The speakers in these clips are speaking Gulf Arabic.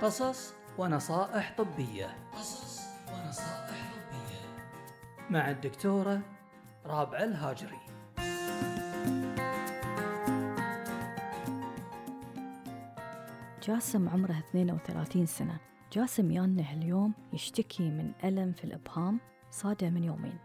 قصص ونصائح طبية. قصص ونصائح طبية مع الدكتورة رابعة الهاجري. جاسم عمره 32 سنة. جاسم يانه اليوم يشتكي من ألم في الإبهام صاده من يومين،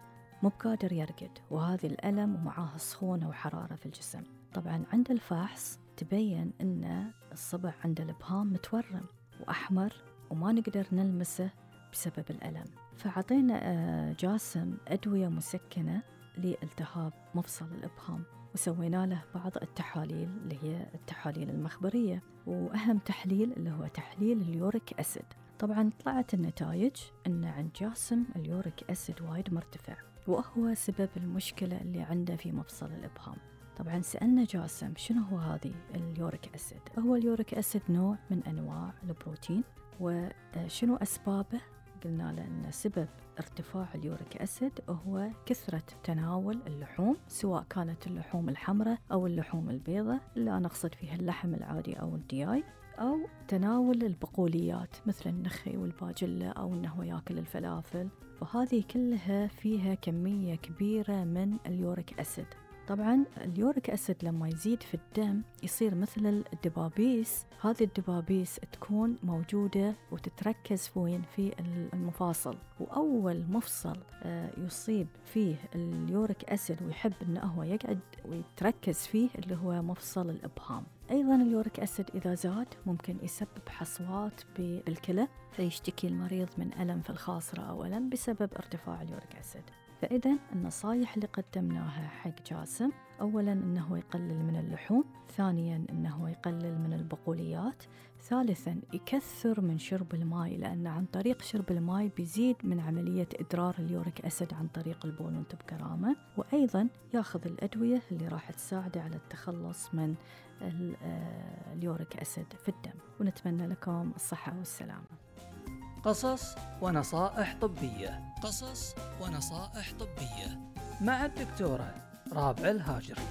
مو بقادر يرقد، وهذه الألم ومعاه سخونة وحرارة في الجسم. طبعا عند الفحص تبين أن الصبع عند الإبهام متورم وأحمر وما نقدر نلمسه بسبب الألم. فعطينا جاسم أدوية مسكنة لالتهاب مفصل الإبهام، وسوينا له بعض التحاليل اللي هي التحاليل المخبرية، وأهم تحليل اللي هو تحليل اليوريك أسيد. طبعا طلعت النتائج أن عند جاسم اليوريك أسيد وايد مرتفع، وهو سبب المشكلة اللي عنده في مفصل الإبهام. طبعا سألنا جاسم شنو هو هذه اليوريك أسيد. هو اليوريك أسيد نوع من أنواع البروتين، وشنو أسبابه؟ قلنا له أن سبب ارتفاع اليوريك أسيد هو كثرة تناول اللحوم، سواء كانت اللحوم الحمراء أو اللحوم البيضاء، اللي أنا أقصد فيها اللحم العادي أو الدياي، أو تناول البقوليات مثل النخي والباجلة، أو أنه يأكل الفلافل. فهذه كلها فيها كمية كبيرة من اليوريك أسيد. طبعا اليوريك أسيد لما يزيد في الدم يصير مثل الدبابيس. هذه الدبابيس تكون موجودة وتتركز في المفاصل، وأول مفصل يصيب فيه اليوريك أسيد ويحب أنه هو يقعد ويتركز فيه اللي هو مفصل الإبهام. أيضا اليوريك أسيد إذا زاد ممكن يسبب حصوات بالكلى، فيشتكي المريض من ألم في الخاصرة أو ألم بسبب ارتفاع اليوريك أسيد. فإذا النصائح اللي قدمناها حق جاسم، أولا أنه يقلل من اللحوم، ثانيا أنه يقلل من البقوليات، ثالثا يكثر من شرب الماء، لأن عن طريق شرب الماء بيزيد من عملية إدرار اليوريك أسيد عن طريق البول وانت بكرامة، وأيضا ياخذ الأدوية اللي راح تساعده على التخلص من اليوريك أسيد في الدم. ونتمنى لكم الصحة والسلامة. قصص ونصائح طبية. قصص ونصائح طبية مع الدكتورة رابعة الهاجري.